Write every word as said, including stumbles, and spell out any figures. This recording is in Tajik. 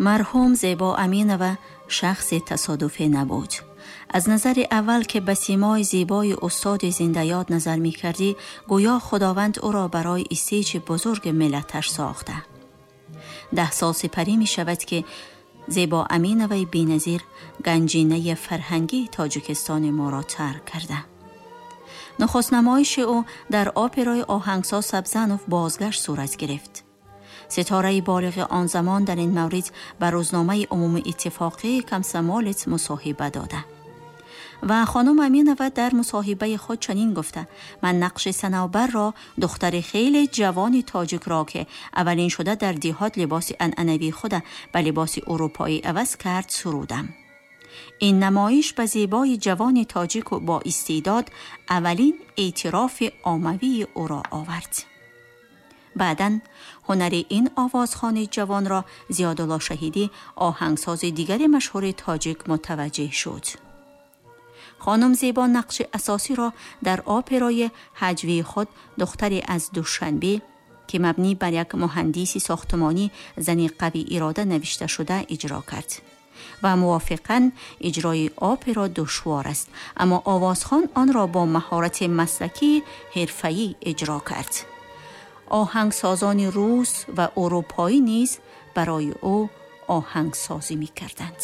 Марҳум Зебо Аминова шахси тасодуфӣ набуд. Аз назари аввал ки ба симои зебои устоди зиндаёд назар мекардӣ, гӯё Худованд ӯро барои истейҷи бузурги миллаташ сохта. Даҳ сол сипарӣ мешавад ки Зебо Аминоваи беназир ганҷинаи фарҳангии Тоҷикистони моро тарк карда. Нахуст намоиши ӯ дар операи оҳангсоз Сабзанов «Бозгашт» сурат гирифт. Ситораи болиғи он замон дар ин маврид ба рӯзномаи умумии иттифоқии «Комсомолец» мусоҳиба дода ва хонум Аминова дар мусоҳибаи худ чунин гуфта: «Ман нақши Санавбарро, духтари хеле ҷавони тоҷикро, ки аввалин шуда дар деҳот либоси анъанавии худа ба либоси урупоӣ иваз кард, сурудам. Ин намоиш ба зебои ҷавони тоҷику бо истеъдод аввалин эътирофи оммавии ӯро овард». Баъдан ҳунари ин овозхони ҷавонро Зиёдулло Шаҳидӣ, оҳангсози дигари машҳури тоҷик, мутаваҷҷеҳ шуд. Хонум Зебо нақши асосиро дар операи ҳаҷвии худ «Духтаре аз Душанбе», ки мабнӣ бар як муҳандиси сохтмонӣ, зани қавӣ ирода навишта шуда, иҷро кард. Ва мувофиқан иҷрои опера душвор аст, аммо овозхон онро бо маҳорати маслакии ҳирфаӣ иҷро кард. Оҳангсозони рус ва урупоӣ низ барои ӯ оҳангсозӣ мекарданд.